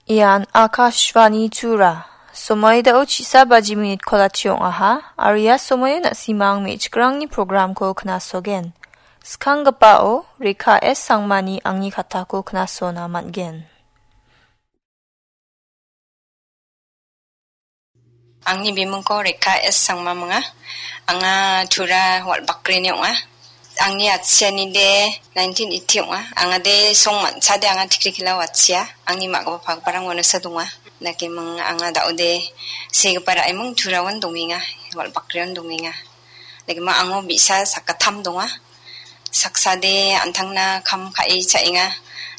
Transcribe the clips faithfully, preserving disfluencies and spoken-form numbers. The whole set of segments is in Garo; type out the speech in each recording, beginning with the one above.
Ian Akashvani Tura. Somoi dao chisa baji minit kolachi ong·aha, aro ia somoio na·simang me·chikrangni programko knasogen. Skanggipao Rekha S Sangmani angni katako knasona man·gen. Angni bimingko Rekha S Sangmam ong·a. Anga Tura Walbakrini ong·a. Angni atchianide nineteen eighty ong·a. Angade song manchade anga tikri kila watchia. Angni ma·gipa pagiparang uanosa donga. Dakeming anga daode segipa ra·eming Turaon dongenga. Walbakrion dongenga. Dakeming ango bi·sa sakgittam donga. Saksade an·tangna kam ka·e cha·enga.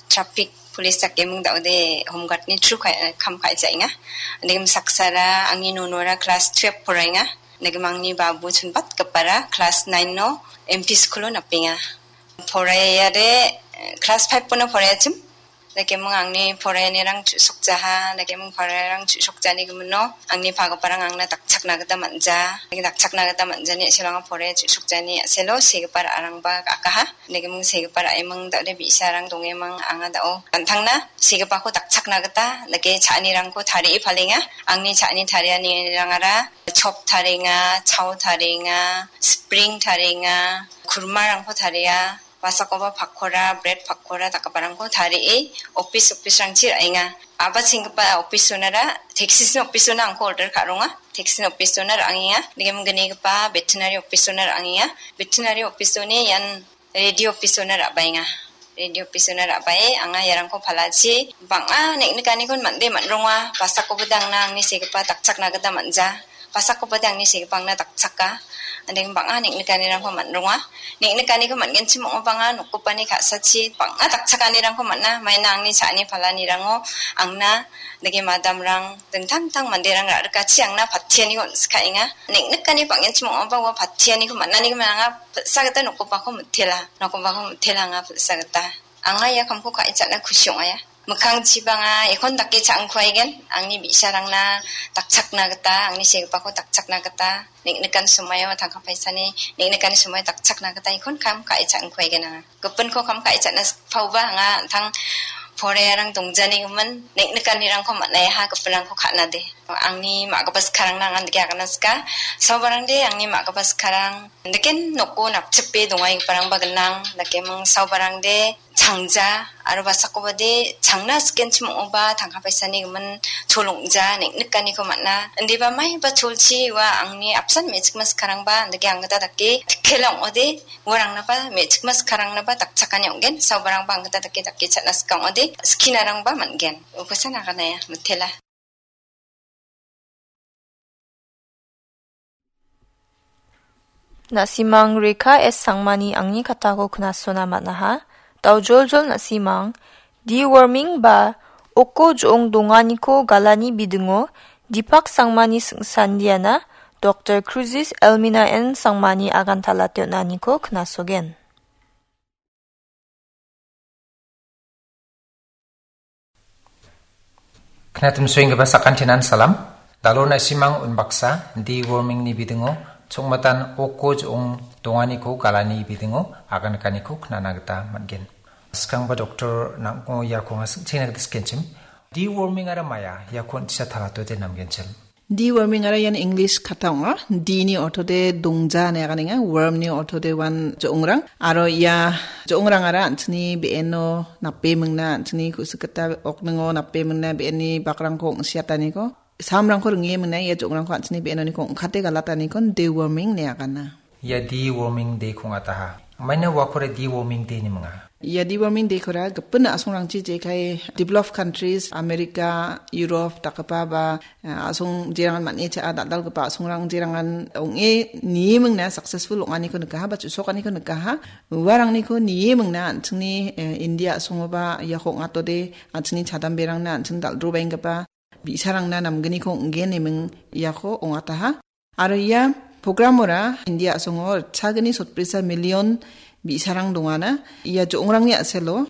Traffic police dakeming daode Home Guard-ni through ka-, kam ka·e cha·enga. Dakeming saksara angni nonora class twelve poraenga. Dakeming angni babu chonbatgipara class nine-o M P school-o napenga. Poraiade, eh, class five-ono poraiachim. Dakeming angni poraianirang chu·sokjaha, dakeming poraianirang chu·sokjani gimino angni pagiparang angna dakchakna gita man·ja. Dakchakna gita man·jani a·selo anga poraia chu·sokjani a·selo segipa ra·arangba akaha. Dakeming segipa ra·eming daode bi·sarang dongeming anga dao an·tangna segipako dakchakna gita dake cha·anirangko tarie palenga. Angni cha·ani tarianirangara chop tarienga, chao tarienga, spring tarienga, kurmarangko taria. Basakoba pakora, bred pakora dakgiparangko tarie office, office-rangchi ra·enga. Aba chenggipa office-onara, taxis-ni office-ona angko order ka·ronga. Taxis-ni office-ona ra·angenga. Nigemgnigipa veterinary office-ona ra·angenga. Veterinary office-oni ian radio office-ona ra·baenga. Radio office-ona ra·bae anga iarangko palachi bang·a neng·nikanikon mande man·ronga. Basakoba dangna angni segipa dakchakna gita man·ja. Basakoba de angni segipangna dakchaka. Andeng bang·a neng·nikanirangko man·ronga. Neng·nikaniko man·genchim ong·a bang·a nokgipani ka·sachi bang·a dakchakanirangko man·a. Maina angni cha·ani palanirango angna dake madamrang, dingtang dingtang manderang ra·rikachi angna patianiko on·sikaenga. Neng·nikani bang·genchim ong·aba ua patianiko man·aniko anga pil·sa gita nokgipako mitela. Nokgipako mitela anga pil·sa gita. Anga ia kamko ka·e cha·na kusi ong·aia. Mikkangchiba anga iakon dake cha·angkuaigen, angni bi·sarangna dakchakna gita, angni segipako dakchakna gita, neng·nikan somoio tangka paisani, neng·nikani somoio dakchakna gita iakon kam ka·e cha·angkuaigen anga. Gipinko kam ka·e cha·na sikpaoba anga an·tang poraiarang dongjanigimin, neng·nikanirangko man·aiaha gipinrangko ka·nade. Angni ma·gipa sikarangna anga dake agana sika, saobarangde angni ma·gipa sikarang, daken noko napchipe dongaigiparangba gnang, dakeming saobarangde changja, aro basakobade changna sikenchim ong·oba tangka paisani gimin chol ong·ja neng·nikaniko man·a. Indiba maiba cholchi ua angni apsan me·chikma sikarangba, andake anggita dake tikkela ong·ode, uarangnaba me·chikma sikarangnaba dakchakani ong·gen, saobarangba anggita dake dake cha·na sika ong·ode, skinarangba man·gen. Ukosan aganaia, mitela. Na·simang Rekha S Sangmani angni katako knasona man·aha. Daojoljol na·simang, deworming ba oko jo·ong donganiko galani bidingo Dipak Sangmani singsandiana Doktor Cruzis Elmina N Sangmani agantala teonaniko knasogen. Knatimsoenggipa sakantinan salam. Dalo na·simang unbaksa deworming-ni bidingo chongmatan oko jo·ong donganiko galani bidingo aganikaniko knana gita man·gen. Skangba doktor nang·o iako anga sing·chengna gita sikenchim. Deworming-ara maia iako on·tisa talatote namgenchim. Deworming-ara ian English kata ong·a. D-ni ortode dongja ine aganenga, worm-ni ortode uan jo·ongrang. Aro ia jo·ongrangara an·chingni be·eno nape mingna, an·chingni ku·sik gita okningo nape mingna, be·enni bakrangko ong·siataniko, samrangko ringe mingna, ia jo·ongrangko an·chingni be·enoniko ong·kate galataniko deworming ine agana. Ia deworming day-ko ong·ataha. Maina uakora deworming day ine minga. Ia deworming day-kora gipin a·songrangchi jekai developed countries, America, Europe dakgipa ba, eh, a·song jerangan man·e cha·a dal·dalgipa a·songrang jerangan ong·e nie mingna successful ong·aniko nikaha ba chu·sokaniko nikaha. Uarangniko nie mingna an·chingni, eh, India a·songoba iako ong·atode an·chingni chadamberangna an·ching dal·drobaenggipa bi·sarangna namgniko ong·gen ine ming iako ong·ataha. Aro ia programora India a·songo ritchagni sotbrisa million bi·sarang dongana. Ia jo·ongrangni a·selo